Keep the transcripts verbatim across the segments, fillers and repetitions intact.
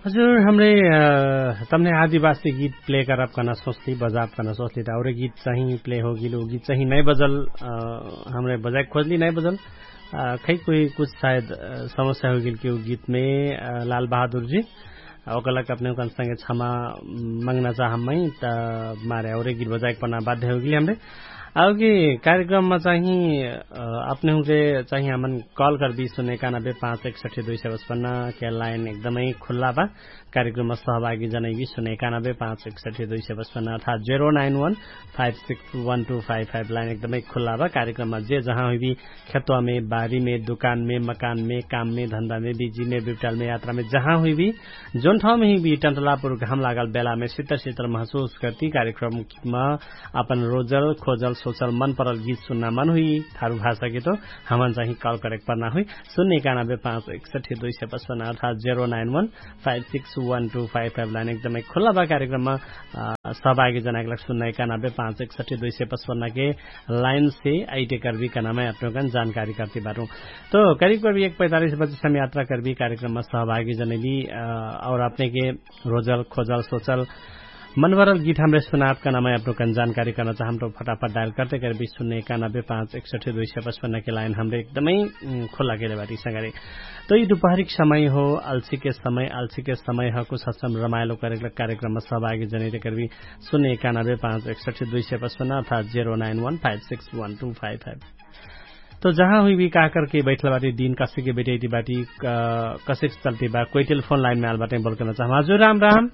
हजुर, हमरे तमने आदिवासी गीत प्ले करब कहना सोचली, बजाब कहना सोचली त औरे गीत चाही प्ले होगिल। उ गीत चाही नै बजल। हमरे बजाइक खोजली नै बजल। खै कोही कुछ सायद समस्या होगिल कि उ गीतमे लाल बहादुर जी ओकलक अपने उकन संगे क्षमा मंगना चाहम मै। त मारे औरे गीत बजाइक पना बाध्य होगिल हमरे। आउगी कार्यक्रममा चाही अपने हुँके चाही हमन कल करबी सुन्ने एकानबे पाँच एकसठी दुई सय पचपन्न के लाइन एकदमै खुल्ला बा। कार्यक्रममा सहभागी जनैबी सुन्ने एकानबे पाँच एकसठी दुई सय पचपन्न अर्थात zero nine one five six one two five five line एकदमै खुल्ला बा। कार्यक्रममा जे जहाँ हुइबी खेतवामे बारीमे दुकानमे मकानमे काममे धन्दामे बिजीमे बिपटालमे यात्रामे जहाँ हुइबी जौन ठाउँमे हुइबी टन्टलापुर घाम लागल बेलामे सितर सितर महसुस करती कार्यक्रम म अपन रोजल खोजल सोचल मन परल गीत सुन्ना मन हुई थारु भाषा के तो हमन चाही कल करेक परना हुई। सुन्ने एकानबे पाँच एकसठी दुई सय पचपन्न अर्थात zero nine one five six one two five five line एकदमै खुल्ला बा। कार्यक्रममा सहभागी जनाके लाग सुन्ने एकानबे पाँच एकसठी दुई सय पचपन्न के लाइन से आइटे करबी कनामै अपनोकन जानकारी करती बाटु। तो करिब करिब एक पैतालिस बजे सम यात्रा करबी कार्यक्रममा सहभागी जनैली और अपने के रोजल खोजल सोचल मनभरल गीत हमरे सुनाब कनामै अपनोकन जानकारी करना चाहम तो फटाफट डायल करते करबी सुन्ने एकानबे पाँच एकसठी दुई सय पचपन्न के लाइन हमरे एकदमै खुल्ला केले बाटी संगरे। तो यि दुपहरिक समय हो, अल्छी के समय अल्छी के समय ह कुछ हसम रमाइलो करेक कार्यक्रममा सहभागी जनैते करबी सुन्ने एकानबे पाँच एकसठी दुई सय पचपन्न अर्थात zero nine one five six one two five five. तो जहाँ हुई भी का करके बैठल बाटी दिन कसे के बेटे बाटी कसे के चलती बा कोई टेलीफोन लाइन में आल बाटे बोल करना चाहम हजुर राम राम।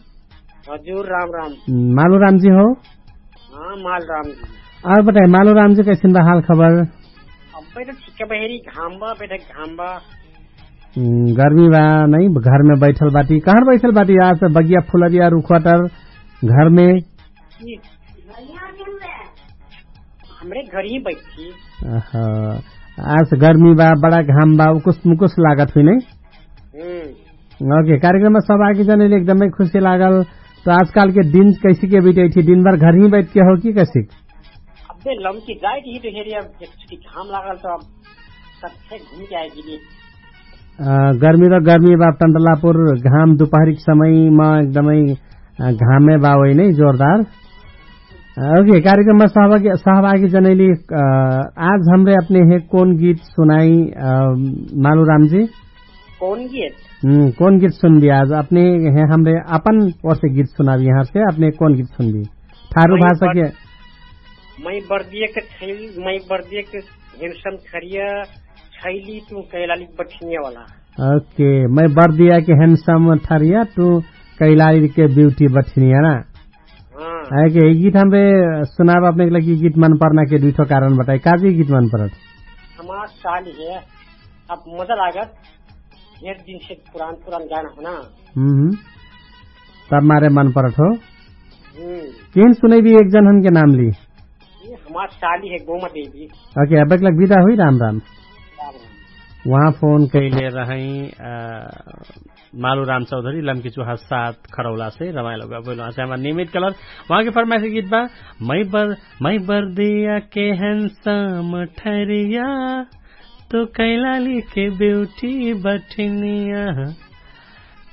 हजुर राम राम। मालू राम जी हो। हाँ माल राम जी। और बताए मालू राम जी कैसे बा हाल खबर? अब्बे तो ठीक है बहेरी घाम बा बेटे घाम बा। गर्मी बा नहीं घर में बैठल बाटी कहाँ बैठल बाटी आज बगिया फुलरिया रुखवाटर घर में। हमरे घर ही बैठी। आज गर्मी बा बड़ा घाम बा उकुस मुकुस लागत हुई नहीं। ओके कार्यक्रम में सब आगे जाने एकदमै खुशी लागल। तो आजकाल के दिन कैसे के बिटै थी दिन भर घर ही बैठ के हो कि कैसे? अबे लमकी जाए थी तो हेरी अब घाम लागल तो अब सबसे घूम के आएगी। गर्मी र गर्मी बा टन्टलापुर घाम दुपहरी के समय म एकदमै घामे बा होइ नै जोरदार। ओके कार्यक्रम म सहभागी जनैली। आज हमरे अपने हे कौन गीत सुनाई? मालू राम जी कौन गीत? कौन गीत सुनबी आज अपने हे हमरे अपन ओर से गीत सुनाबी यहाँ से अपने कौन गीत सुनबी? ठारू भाषा के। मै बर्दिया के छैल मै बर्दिया के हेमसम खरिया छैली तू कैलाली बठिनिया वाला। ओके मै बर्दिया के हेमसम ठरिया तू कैलाली के ब्यूटी बठिनिया ना। है कि यी गीत हमरे सुनाब अपने के लागि गीत मन पर्ना के दुइठो कारण बताए काजी गीत मन परत? हमार साल हे। अब मजा लागत। ढेर दिन से पुरान पुरान गाना हो ना। तब मारे मन परत हो। केन सुनैबी एक जन हमके नाम ली? हमार साली है गोमा देवी। ओके अब एक लग विदा हुई राम राम। वहाँ फोन कैले रहै मालु राम चौधरी लम्की चुहा साथ खरौला से रमाइलो गबैलो आसे हमार नियमित कलर। वहाँ के फरमाइसे गीत बा मै बर्दिया के हेन्सम ठरिया तो कैलाली के ब्यूटी बठिनिया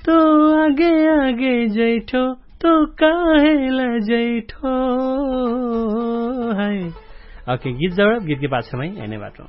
तो आगे आगे जैठो तो काहेला जैठो। है ओके गीत जवाब गीत के पाछा मै एने बाटो।